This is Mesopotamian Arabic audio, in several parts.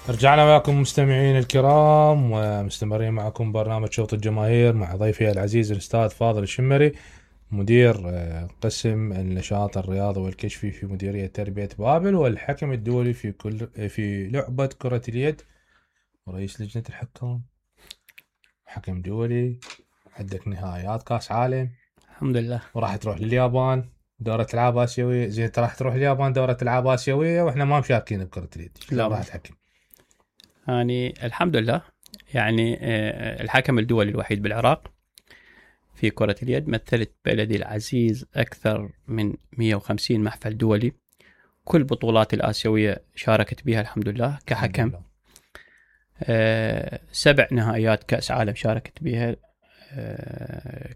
رجعنا معكم مستمعين الكرام ومستمرين معكم برنامج شوط الجماهير مع ضيفي العزيز الأستاذ فاضل الشمري مدير قسم النشاط الرياضي والكشفي في مديرية تربية بابل والحكم الدولي في لعبة كرة اليد ورئيس لجنة الحكام حكم دولي. عندك نهائيات كاس عالم الحمد لله وراح تروح لليابان دورة ألعاب آسيوية. زين انت راح تروح اليابان دورة ألعاب آسيوية واحنا ما مشاركين بكرة اليد. لا راح تحكم؟ يعني الحمد لله يعني الحكم الدولي الوحيد بالعراق في كرة اليد. مثلت بلدي العزيز أكثر من 150 محفل دولي. كل بطولات الآسيوية شاركت بها الحمد لله كحكم. 7 نهائيات كأس عالم شاركت بها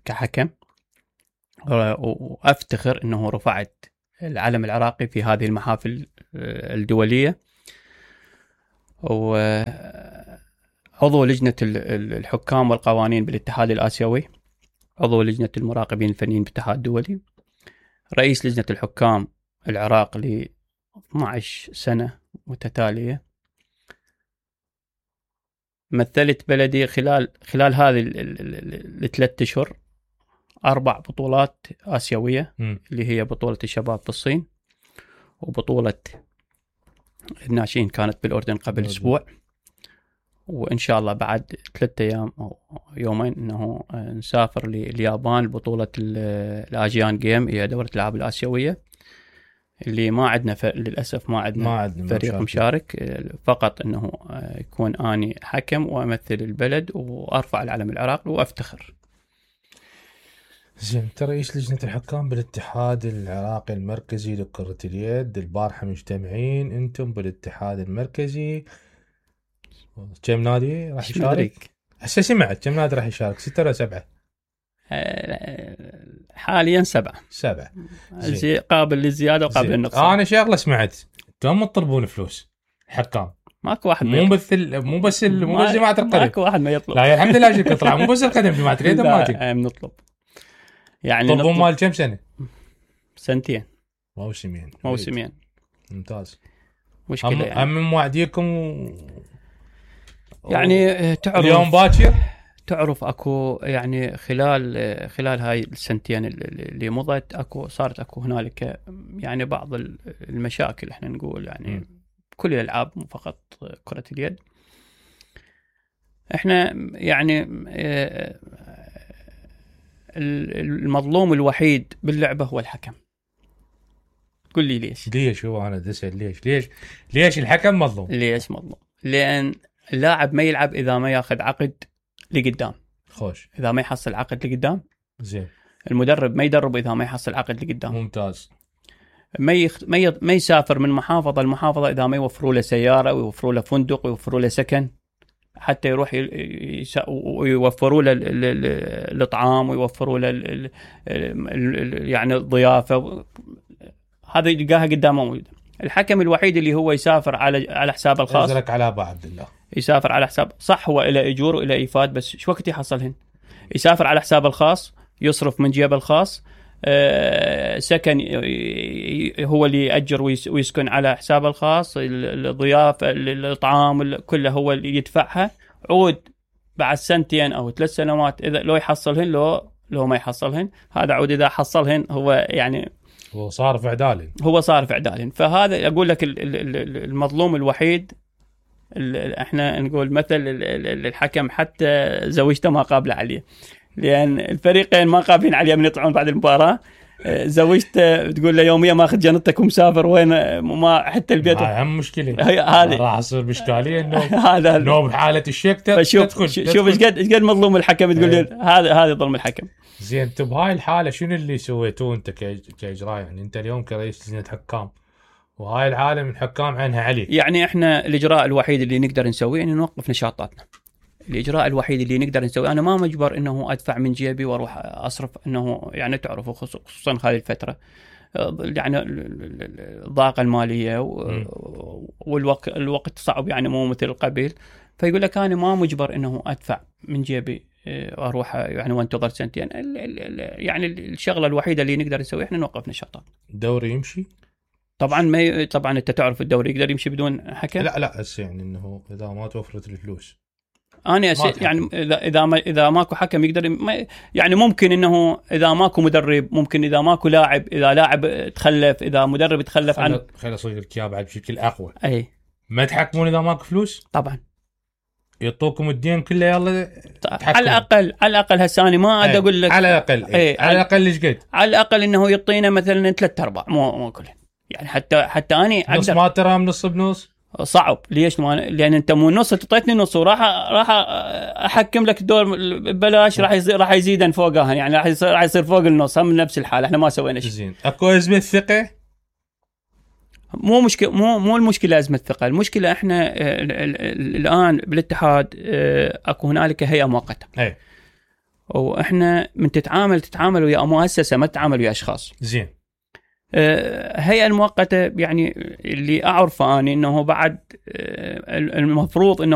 كحكم. وأفتخر أنه رفعت العلم العراقي في هذه المحافل الدولية. وعضو لجنة الحكام والقوانين بالاتحاد الآسيوي، عضو لجنة المراقبين الفنيين بالاتحاد الدولي، رئيس لجنة الحكام العراق ل 12 سنة متتالية. مثلت بلدي خلال هذه الثلاث أشهر 4 بطولات آسيوية اللي هي بطولة الشباب في الصين، وبطولة الناشئين كانت بالأردن قبل أسبوع، وإن شاء الله بعد 3 أيام أو يومين إنه نسافر لليابان بطولة الآسيان جيم، هي دورة الألعاب الآسيوية اللي ما عندنا للأسف ما عندنا فريق مشارك، فقط إنه يكون أني حكم وأمثل البلد وأرفع العلم العراقي وأفتخر. زين انت رئيس لجنة الحكام بالاتحاد العراقي المركزي لكرة اليد. البارحة مجتمعين انتم بالاتحاد المركزي، كم نادي راح يشارك؟ هسه سمعت كم نادي راح يشارك؟ 6 ولا 7؟ حاليا 7 قابل للزيادة وقابل للنقصان. انا شغله سمعت انتم تطلبون فلوس حكام، ماكو واحد مو بس جماعة القدم، ماكو واحد ما يطلب. لا الحمد لله شكرا. طلع مو بس القدم، جماعة اليد ما نطلب يعني طلبون مال كم سنة؟ 2 موسمين. ممتاز. مشكلة يعني هم موعديكم يعني تعرف اليوم باكر، تعرف اكو يعني خلال هاي السنتين اللي مضت صارت اكو هنالك يعني بعض المشاكل احنا نقول يعني كل الالعاب مو فقط كرة اليد. احنا يعني المظلوم الوحيد باللعبة هو الحكم. قل لي ليش هو انا دسل ليش الحكم مظلوم؟ ليش مظلوم؟ لان اللاعب ما يلعب اذا ما ياخذ عقد لقدام. خوش. اذا ما يحصل عقد لقدام. زين. المدرب ما يدرب اذا ما يحصل عقد لقدام. ممتاز. ما يسافر من محافظة لمحافظة اذا ما يوفروا له سيارة ويوفروا له فندق ويوفروا له سكن حتى يروح ويوفروا له الاطعام ويوفروا له يعني الضيافة. هذا يلقاها قدامه موجود. الحكم الوحيد اللي هو يسافر على حساب الخاص. يزرك على ابو عبد الله. يسافر على حساب، صح هو إلى اجور والى ايفاد، بس شو وقت يحصلهن؟ يسافر على حساب الخاص، يصرف من جيبه الخاص، سكن هو اللي يأجر ويسكن على حساب الخاص، الضيافة الطعام كله هو اللي يدفعها. عود بعد 2 أو 3 سنوات إذا لو يحصلهن لو ما يحصلهن، هذا عود إذا حصلهن هو يعني هو صار في عدالين. فهذا أقول لك المظلوم الوحيد. احنا نقول مثل الحكم حتى زوجته ما قابله عليه، لأن الفريقين ما قابلين عليه من يطلعون بعد المباراة. زوجته تقول له يوميا ماخذ جنطتك ومسافر وين، ما حتى البيت. أهم مشكلة هذه راح يصير بإشكالية إنه هذا لو بحالة الشك تدخل. شوف إيش قد مظلوم الحكم. تقول لي هذا ظلم الحكم. زين انت بهاي الحالة شنو اللي سويتوه انت كإجراء؟ يعني انت اليوم كرئيس لجنة حكام وهاي الحالة من حكام عينها عليك. يعني احنا الإجراء الوحيد اللي نقدر نسويه إنه نوقف نشاطاتنا. الإجراء الوحيد اللي نقدر نسويه، أنا ما مجبر إنه أدفع من جيبي وأروح أصرف، إنه يعني تعرفوا خصوصا هذه الفترة يعني الضاقة المالية والوقت صعب يعني مو مثل قبل. فيقول لك أنا ما مجبر إنه أدفع من جيبي أروح يعني وانتظر 2 يعني الشغلة الوحيدة اللي نقدر نسويها إحنا نوقف نشاطات. الدوري يمشي طبعا طبعا انت تعرف الدوري يقدر يمشي بدون حكم. لا هسه يعني انه اذا ما توفرت الفلوس انا يعني اذا ماكو حكم يقدر يعني ممكن انه اذا ماكو مدرب، ممكن اذا ماكو لاعب، اذا لاعب تخلف، اذا مدرب تخلف عن خلي اصير لك اياه بعد بشكل اقوى. اي ما تحكمون اذا ماكو فلوس؟ طبعا يعطوكم الدين كله يلا تحكمون. على الاقل هسه انا ما ادري اقول لك على الاقل على الاقل ايش قد؟ على الاقل انه يعطينا مثلا 3/4 مو كله يعني حتى اني نص ما ترى نص بنص صعب. ليش؟ لان انت مو نص تعطيتني نص وراح احكم لك الدور ببلاش، راح يزيدن فوقها يعني راح يصير فوق النص. هم نفس الحال احنا ما سوينا شيء. زين اكو ازمه ثقه؟ مو مشكله، مو المشكله ازمه ثقه. المشكله احنا الان بالاتحاد اكو هنالك هيئه مؤقته. اي واحنا من تتعامل ويا مؤسسه، ما تتعامل ويا اشخاص. زين. هيئه المؤقته يعني اللي اعرفه اني انه بعد المفروض انه